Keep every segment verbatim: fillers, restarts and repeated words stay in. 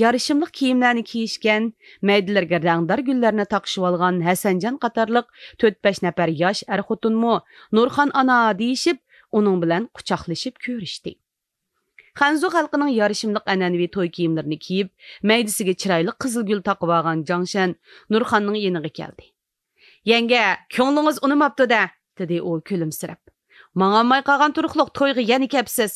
يارىشىملىق كىيىملەرنى كىيىشكەن، مەيدىلىرىگە رەڭدار گۈللەرنى تاقىشىۋالغان ھەسەنجان قاتارلىق تۆت-بەش نەپەر ياش ئەر-خوتۇنمۇ نۇرخان ئانا دېيىشىپ، ئۇنىڭ بىلەن قۇچاقلىشىپ كۆرۈشتى. خەنزۇ خەلقىنىڭ يارىشىملىق ئەنئەنىۋى توي كىيىملىرىنى كىيىپ، مەيدىسىگە چىرايلىق قىزىل گۈل تاقىۋالغان جاڭشەن نۇرخاننىڭ يېنىغا كەلدى. يەڭگە، كۆڭلىڭىز ئۇنىماپتۇ-دە، دېدى ئۇ كۈلۈمسىرەپ. ماڭالماي قالغان تۇرۇقلۇق تويغا يەنە كەپسىز.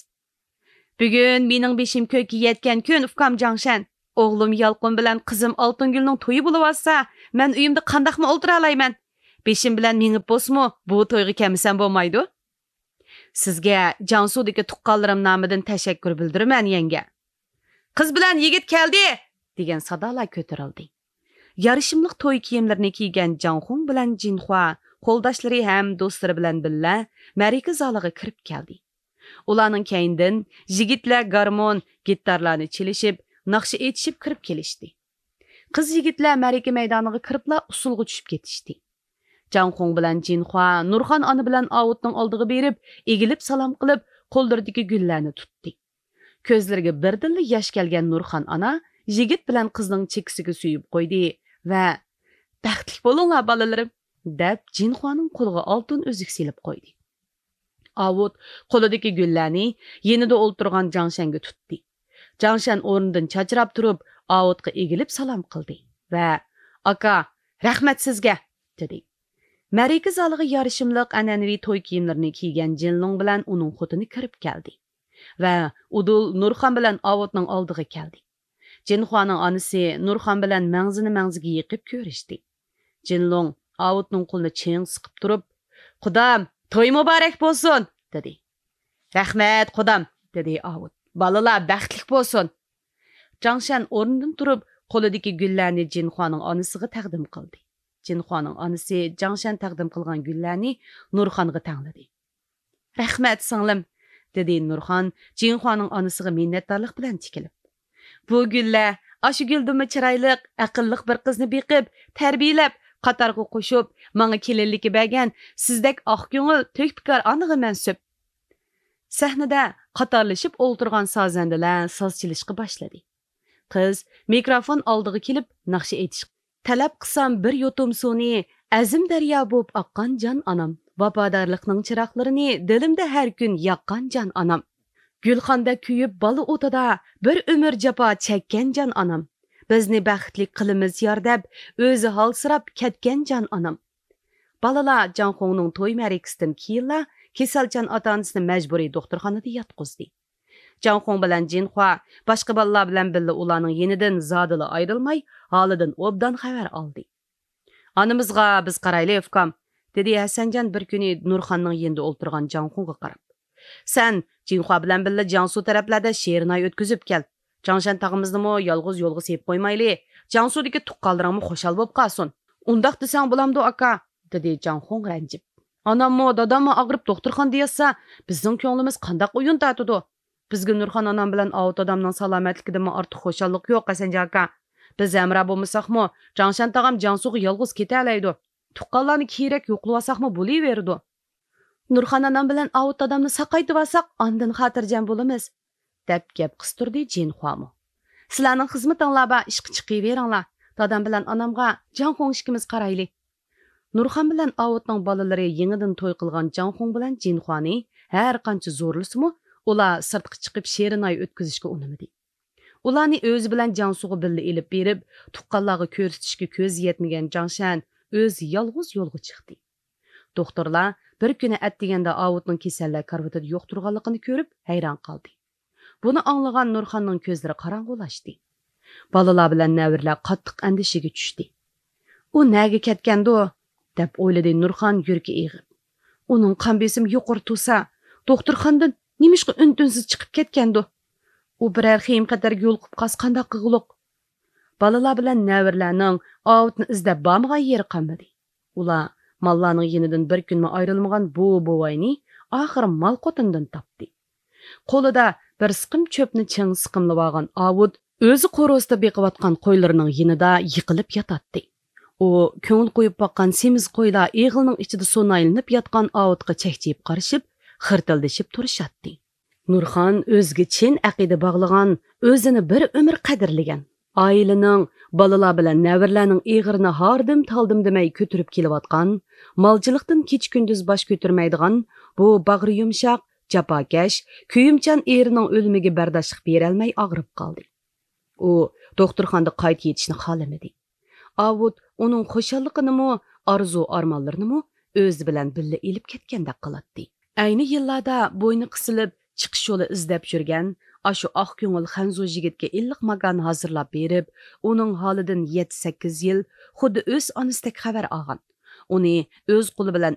بۈگۈن مېنىڭ بېشىم كۆككە يەتكەن كۈن، ئۇكام جاڭشەن. ئوغلۇم يالقۇن بىلەن قىزىم ئالتۇنگۈلنىڭ تويى بولۇۋاتسا، مەن ئۆيۈمدە قانداقمۇ ئولتۇرالايمەن؟ بېشىم بىلەن مېڭىپ بولسىمۇ، بۇ تويغا كەلمىسەم بولمايدۇ. سىزگە جياڭسۇدىكى تۇغقانلىرىم نامىدىن تەشەككۈر بىلدۈرىمەن، يەڭگە. قىز بىلەن يىگىت كەلدى! دېگەن سادالار كۆتۈرۈلدى. يارىشىملىق توي كىيىملىرىنى كىيگەن جاڭخۇڭ بىلەن جىنخۇا قولداشلىرى ھەم دوستلىرى بىلەن بىللە مەرىكە زالىغا كىرىپ كەلدى. ئۇلارنىڭ كەينىدىن يىگىتلەر گارمون، گىتارلارنى چېلىشىپ، ناخشا ئېيتىشىپ كىرىپ كېلىشتى. قىز يىگىتلەر مەرىكە مەيدانىغا كىرىپلا ئۇسسۇلغا چۈشۈپ كېتىشتى. جاڭخۇڭ بىلەن جىنخۇا نۇرخان ئانا بىلەن ئاۋۇتنىڭ ئالدىغا بېرىپ، ئېگىلىپ سالام قىلىپ، قوللىرىدىكى گۈللەرنى تۇتتى. كۆزلىرىگە بىردىنلا ياش كەلگەن نۇرخان ئانا يىگىت بىلەن قىزنىڭ چېكىسىگە سۆيۈپ قويدى ۋە، بەختلىك بولۇڭلار، بالىلىرىم، دەپ، جىنخۇانىڭ قولىغا ئالتۇن ئۈزۈك سېلىپ قويدى. ئاۋۇت قولىدىكى گۈللەرنى يېنىدا ئولتۇرغان جاڭشەنگە تۇتتى. جاڭشەن ئورنىدىن چاچراپ تۇرۇپ، ئاۋۇتقا ئېگىلىپ سالام قىلدى ۋە، ئاكا، رەھمەت سىزگە، دېدى. مەرىكە زالىغا يارىشىملىق ئەنئەنىۋى توي كىيىملىرىنى كىيگەن جىنلۇڭ بىلەن ئۇنىڭ خوتۇنى كىرىپ كەلدى ۋە ئۇدۇل نۇرخان بىلەن ئاۋۇتنىڭ ئالدىغا كەلدى. جىنخۇانىڭ ئانىسى نۇرخان بىلەن مەڭزىنى مەڭزىگە يېقىپ كۆرۈشتى. جىنلۇڭ ئاۋۇتنىڭ قولىنى چىڭ سىقىپ تۇرۇپ، قۇدام، توي مۇبارەك بولسۇن! دېدى. رەھمەت، قۇدام! دېدى ئاۋۇت. بالىلار بەختلىك بولسۇن! جاڭشەن ئورنىدىن تۇرۇپ، قولىدىكى گۈللەرنى جىنخۇانىڭ ئانىسىغا تەقدىم قىلدى. جىنخۇانىڭ ئانىسى جاڭشەن تەقدىم قىلغان گۈللەرنى نۇرخانغا تەڭلىدى. رەھمەت، سىڭلىم، دېدى نۇرخان جىنخۇانىڭ ئانىسىغا مىننەتدارلىق بىلەن تىكىلىپ. بۇ گۈللەر ئاشۇ گۈلدىنمۇ چىرايلىق، ئەقىللىق بىر قىزنى بېقىپ، تەربىيەلەپ، قاتارغا قوشۇپ، ماڭا كېلىنلىككە بەرگەن سىزدەك ئاق كۆڭۈل، تۆھپىكار ئانىغا مەنسۇپ. سەھنىدە قاتارلىشىپ ئولتۇرغان سازەندىلەر ساز چېلىشقا باشلىدى. قىز مىكروفون ئالدىغا كېلىپ ناخشا ئېيتىشقا، تەلەپ قىلسام بىر يۇتۇم سۇنى، ئەزىم دەريا بوپ ئاققان جان ئانام. ۋاپادارلىقنىڭ چىراغلىرىنى دىلىمدا ھەر كۈن ياققان جان ئانام. گۈلخاندەك كۆيۈپ بالا ئوتىدا، بىر ئۆمۈر جاپا چەككەن جان ئانام. بىزنى بەختلىك قىلىمىز يار دەپ، ئۆزى ھالسىراپ كەتكەن جان ئانام. بالىلار جاڭخۇڭنىڭ توي مەرىكىسىدىن كېيىنلا كېسەلچان ئاتا-ئانىسىنى مەجبۇرىي دوختۇرخانىدا ياتقۇزدى. جاڭخۇڭ بىلەن جىنخۇا باشقا بالىلار بىلەن بىللە ئۇلارنىڭ يېنىدىن زادىلا ئايرىلماي، ھالىدىن ئوبدان خەۋەر ئالدى. ئانىمىزغا بىز قارايلى، ئۇكام، دېدى ھەسەنجان بىر كۈنى نۇرخاننىڭ يېنىدا ئولتۇرغان جاڭخۇڭغا قاراپ. سەن جىنخۇا بىلەن بىللە جياڭسۇ تەرەپلەردە شېرىن ئاي ئۆتكۈزۈپ كەل. جاڭشەن تاغىمىزنىمۇ يالغۇز يولغا سېلىپ قويمايلى. جياڭسۇدىكى تۇغقانلىرىڭمۇ خۇشال بولۇپ قالسۇن. ئۇنداق دېسەڭ بولامدۇ، ئاكا؟ دېدى جاڭخۇڭ رەنجىپ. ئاناممۇ، داداممۇ ئاغرىپ دوختۇرخانىدا ياتسا، بىزنىڭ كۆڭلىمىز قانداق ئويۇن تارتىدۇ؟ بىزگە نۇرخان ئانام بىلەن ئاۋۇت دادامنىڭ سالامەتلىكىدىنمۇ ئارتۇق خۇشاللىق يوق، ھەسەنجان ئاكا. بىز ھەمراھ بولمىساقمۇ، جاڭشەن تاغام جياڭسۇغا يالغۇز كېتەلەيدۇ. تۇغقانلارنى كېرەك يوقلىۋالساقمۇ بولۇۋېرىدۇ. نۇرخان ئانام بىلەن ئاۋۇت دادامنى ساقايتىۋالساق، ئاندىن خاتىرجەم بولىمىز، دەپ گەپ قىستۇردى جىنخۇامۇ. سىلەرنىڭ خىزمىتىڭلار بار، ئىشقا چىقىۋېرىڭلار. دادام بىلەن ئانامغا جاڭخۇڭ ئىككىمىز قارايلى. نۇرخان بىلەن ئاۋۇتنىڭ بالىلىرى يېڭىدىن توي قىلغان جاڭخۇڭ بىلەن جىنخۇانى ھەر قانچە زورلىسىمۇ، ئۇلار سىرتقا چىقىپ شېرىن ئاي ئۆتكۈزۈشكە ئۇنىمىدى. ئۇلارنى ئۆزى بىلەن جياڭسۇغا بىللە ئېلىپ بېرىپ، تۇغقانلارغا كۆرسىتىشكە كۆزى يەتمىگەن جاڭشەن ئۆزى يالغۇز يولغا چىقتى. دوختۇرلار بىر كۈنى ئەتىگەندە ئاۋۇتنىڭ كېسەللەر كارىۋىتىدا يوق تۇرغانلىقىنى كۆرۈپ ھەيران قالدى. بۇنى ئاڭلىغان نۇرخاننىڭ كۆزلىرى قاراڭغۇلاشتى. بالىلار بىلەن نەۋرىلەر قاتتىق ئەندىشىگە چۈشتى. ئۇ نەگە كەتكەندۇ؟ دەپ ئويلىدى نۇرخان يۈرىكى ئېغىپ. ئۇنىڭ قان بېسىمى يۇقىرى تۇرسا، دوختۇرخانىدىن نېمىشقا ئۈن-تىنسىز چىقىپ كەتكەندۇ؟ ئۇ بىرەر خېيىم-خەتەرگە يولۇقۇپ قالسا قانداق قىلغۇلۇق؟ بالىلار بىلەن نەۋرىلەرنىڭ ئاۋۇتنى ئىزدەپ بارمىغان يېرى قالمىدى. ئۇلار ماللارنىڭ يېنىدىن بىر كۈنمۇ ئايرىلمىغان بۇ بوۋاينى ئاخىرى مال قوتۇندىن تاپتى. قولىدا بىر سىقىم چۆپنى چىڭ سىقىملىۋالغان ئاۋۇت ئۆزى قورۇستا بېقىۋاتقان قويلىرىنىڭ يېنىدا يىقىلىپ ياتاتتى. ئۇ كۆڭۈل قويۇپ باققان سېمىز قويلار ئېغىلنىڭ ئىچىدە سۇنايلىنىپ ياتقان ئاۋۇتقا چەكچىيىپ قارىشىپ، خىرتىلدىشىپ تۇرۇشاتتى. نۇرخان ئۆزىگە چىن ئەقىدە باغلىغان، ئۆزىنى بىر ئۆمۈر قەدىرلىگەن، ئائىلىنىڭ، بالىلار بىلەن نەۋرىلەرنىڭ ئېغىرىنى ھاردىم-تالدىم دېمەي كۆتۈرۈپ كېلىۋاتقان، مالچىلىقتىن كېچە-كۈندۈز باش كۆتۈرمەيدىغان بۇ باغرى يۇمشاق، جاپاكەش، كۆيۈمچان ئېرىنىڭ ئۆلۈمىگە بەرداشلىق بېرەلمەي ئاغرىپ قالدى. ئۇ دوختۇرخانىدا قايتا يېتىشنى خالىمىدى. ئاۋۇت ئۇنىڭ خۇشاللىقىنىمۇ، ئارزۇ-ئارمانلىرىنىمۇ ئۆزى بىلەن بىللە ئېلىپ كەتكەندەك قىلاتتى. ئەينى يىللاردا بوينى قىسىلىپ، چىقىش يولى ئىزدەپ يۈرگەن ئاشۇ ئاق كۆڭۈل خەنزۇ يىگىتكە ئىللىق ماكان ھازىرلاپ بېرىپ، ئۇنىڭ ھالىدىن يەتتە-سەككىز يىل خۇددى ئۆز ئانىسىدەك خەۋەر ئالغان. ئۇنى ئۆز قولى بىلەن